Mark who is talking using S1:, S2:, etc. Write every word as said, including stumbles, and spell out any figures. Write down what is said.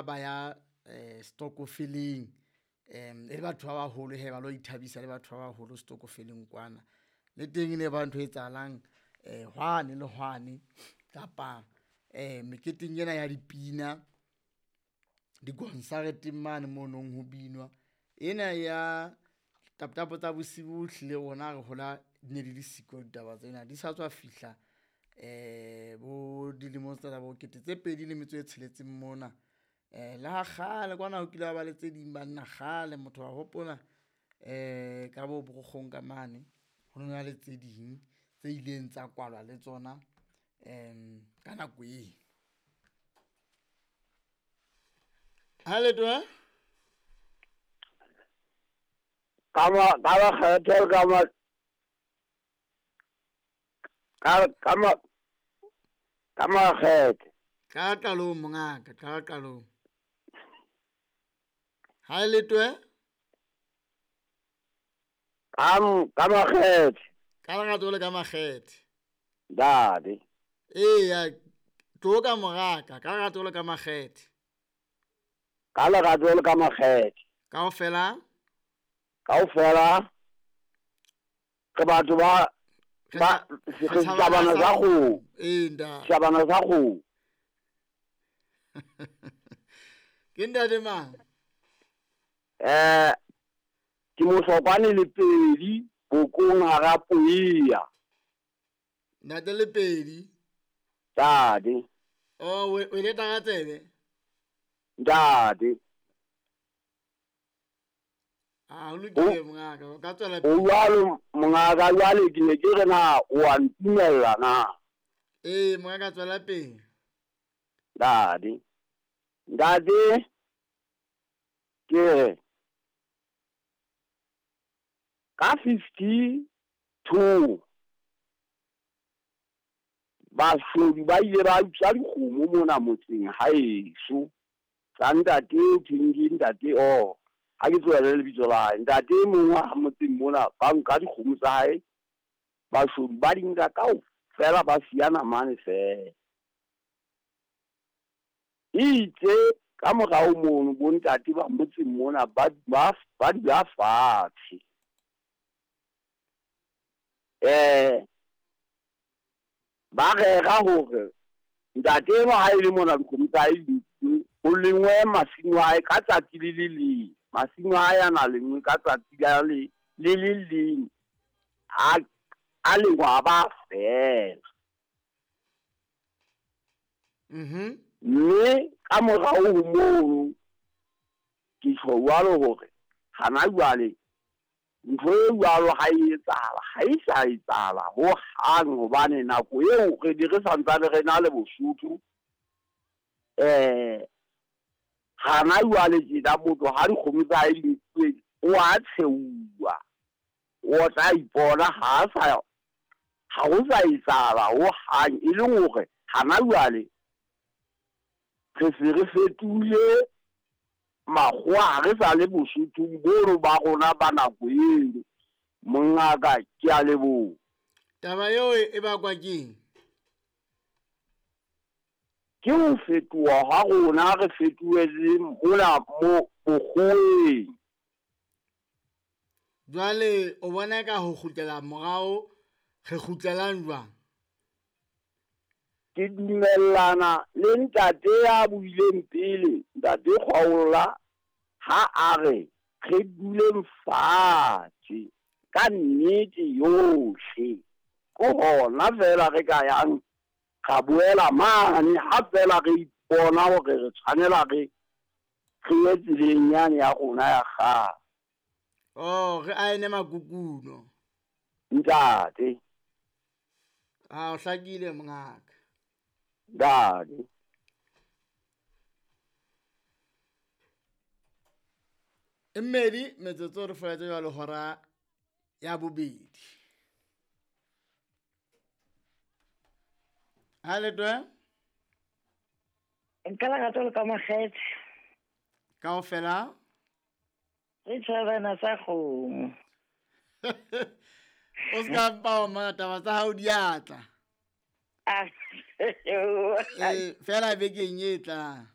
S1: Ba ya eh stokofeleng, em e le batho ba baholo hee ba lo ithabisa le batho ba baholo stokofeleng kwana. Le teng e ne ba ntho e etsahalang eh hwane le hwane kapa eh meketeng ena ya dipina dikonsareteng mane mo nong ho binwa. Ena ya taptap tsa bosiu ehlile rona ha re hola di ne di le siko ditaba tsena, di sa tswa fihla eh bo dilemong tsena tsa bo kete tse pedi le metso e tsheletseng mona. Eh le ha kgale kwana ho kile ha ba le tse ding banna kgale motho wa hopola eh ka bo Borogoong ka mane, ho no na le tse ding tse ileng tsa kwalwa le tsona em ka nako eo. Ha letho eh?
S2: Ka ma ka makgethe ka ma ka ka ma ka makgethe.
S1: Qala qalong mongaka, qala qalong. Ha e letho eh?
S2: Ka ka makgethe.
S1: Ka lerato le ka makgethe.
S2: Ntate.
S1: Eya, tlo ka moraka, ka lerato le ka makgethe.
S2: Ka lerato le ka makgethe.
S1: Kaofela?
S2: Kaofela re batho ba ba
S1: Re
S2: re setjhabana sa kgomo.
S1: Ee, ntate.
S2: Setjhabana sa kgomo.
S1: Ke ntate mang?
S2: Eh ke Mohlokwane Lepedi bokong hara Poeya.
S1: Ntate Lepedi.
S2: Ntate.
S1: Oh, o leta ka tsebe?
S2: Ntate.
S1: Ah, o lokile mongaka, o ka tswela
S2: O jwalo mongaka, jwale ke ne ke re na o a ntumella na?
S1: Ee, mongaka tswela pele.
S2: Ntate. Ntate ke re ka fifty two bashodu ba ile ba utswa dikgomo mona motseng haeso tsa ntate o thweng ke ntate o ha ke tlohele lebitso la hae. Ntate e mong wa motseng mona ba nka dikgomo tsa hae, bashodu ba di nka kaofela ba siya namane feela. Itse ka morao mono bo ntate ba motseng mona ba ba ba dula fatshe. Eh ba rera hore ntate enwa ha e le mona dikgomo tsa hae di nkuwe, ho lengwe masimo a hae ka tsatsi le le leng. Masimo a hae a na lengwe ka tsatsi la le le le leng. A a lengwa a ba fela.
S1: Mhm.
S2: Mme ka morao ho mono ke tjho jwalo hore hana jwale ntho e jwalo ha e etsahala, ha e sa etsahala hohang hobane nako eo re ne re santsane re na le Bosotho. Eh hana jwale tjena motho ha dikgomo tsa hae di nkuwe o a tsheuwa, o tla ipona ha sa ha ho sa etsahala hohang, e leng hore hana jwale re se re fetohile makgowa, ha re sa le Bosothong bono ba rona ba nako eno. Mongaka, ke a leboha.
S1: Taba eo e bakwa keng?
S2: Ke ho fetoha ha rona, re fetohe le mona mo bokgoweng.
S1: Jwale o bona ka ho kgutlela morao, re kgutlelang jwang?
S2: Ke dumellana le ntate ya buileng pele, ntate Kgwaolla, ha a re re duleng fatshe ka nnete yohle. Ke hona feela re ka yang ra boela mane ha feela re ipona hore re tshwanela re re ye tseleng yane ya rona ya kgale.
S1: Oh, re aene makukuno.
S2: Ntate.
S1: Ah, o hlakile mongaka.
S2: Ntate.
S1: E mmedi metsotso re foletse jwalo hora ya bobedi. Ha letwe?
S3: Nka lerato le ka makgethe.
S1: Kaofela?
S3: Re tshwarana sa kgomo.
S1: O ska mpa wa mona taba tsa hao di a tla.
S3: Ah.
S1: Eh, fela bekeng e tlang.